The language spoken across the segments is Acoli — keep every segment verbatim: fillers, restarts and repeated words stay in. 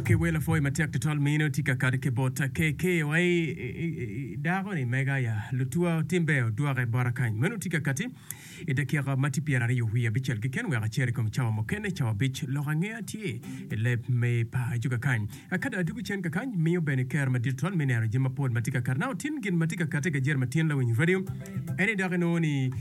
Ok, wel apwoyo matek tutwal mino tye ka kati ki bot K K wa i dako ni mega ya lutua timbe odwoke bota kany. Meno tye ka kati i dakika ma tye pyeraryo wiye abicel keken wek acer i kom cawa mukene cawa abic lok angeya tye i leb me paco kakany. Ka dong adwogo cen kakany miyo bene kero madit tutwal me neno jami mapol ma tye ka kati. Now tin gin ma tye ka kati i gajere matin lawiny radio en ni dok inongo ni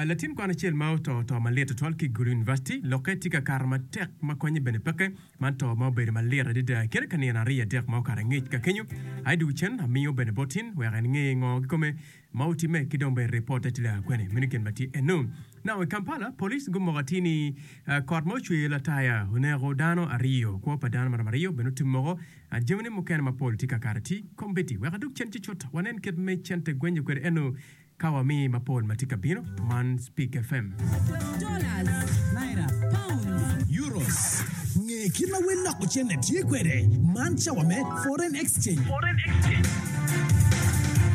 latin kwan acel ma oto to malit tutwal ki i Gulu University lokke tye ka kato matek ma konye bene peke. Man to ma obedo malit adada i kine ka nino aryo adek ma okato angec ka kenyo. Aye dwogo cen amiyo bene bot tin wek en nge ngo kikome ma otimme ki dong bene ripotte tye laa kwene. Meno gin ma tye eno. Now i Kampala, police gumoko atir ni kot ma ocweyo lataya oneko dano aryo. Kwo pa dano maromo aryo bene otum moko. Jamine mukene mapol tye ka kato atir. Kombeddi wek adog cen cucut wanen kit me cente gwenyo kwede eno. Ka wami mapol ma tye ka bino, man Speak F M. Dollars, naira, pounds, Euros. Nge kit ma wel loko cente tye kwede. Man cawa me Foreign Exchange.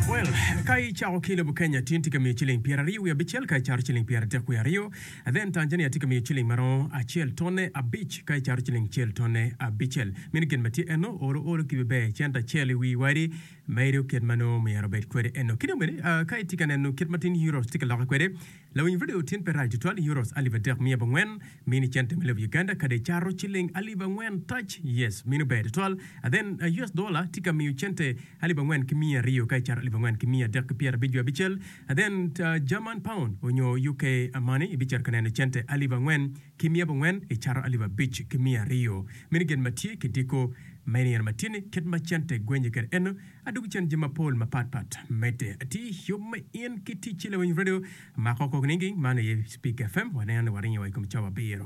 Well, ka icako ki i lobo Kenya tin tye ka miyo ciling pyeraryo wiye abicel ka icato ciling pyeradek wiye aryo. Then Tanzania tye ka miyo ciling ma romo acel tonne abic ka icato ciling cel tonne abicel. Meno gin ma tye eno, olo olo ki ber cente acel i wi wadi. Medo kit ma nongo myero obed kwede eno. Ki dong bene, ka itye ka neno kit ma tin euros tye ka lokke kwede, lawiny radio tin pe rac tutwal, euros alip adek miya abongwen mini cente me lobo Uganda kadi icato ciling alip angwen tac, yes, meno ber tutwal. Then U S dollar tye ka miyo cente alip angwen ki miya aryo ka icato alip angwen ki miya adek ki pyera abic wiye abicel. Then German pound onyo U K money ibicito ka neno cente alip angwen ki miya abongwen icato alip abic ki miya aryo. Meno gin ma tye ki diko me nino ma tye-ni, kit ma cente gwenye kwede eno, adwogi cen jami mapol mapat pat medde atir. Yub me in ki ticci lawiny radio mako kok ninging, man aye Speak F M, waneno ni waringo wa i kom cawa abiro.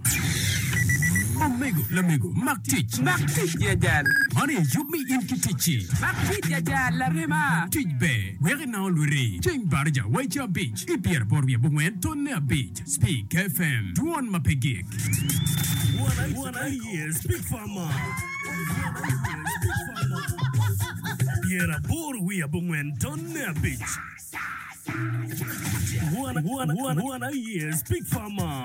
Omego, lamego, mak tic. Mak tic ya jal. Man aye yub me in ki ticci. Mak tic ya jal, larema. Tic ber, wek inango lwiti. Ceng baraja wa i ca abic, i pyeraboro wiye abongwen, tonne abic. Speak F M, dwon ma pe gik. Won aye Speak Farmer. Pyeraboro wiye abongwen tonne abic. Won aye Speak Farmer.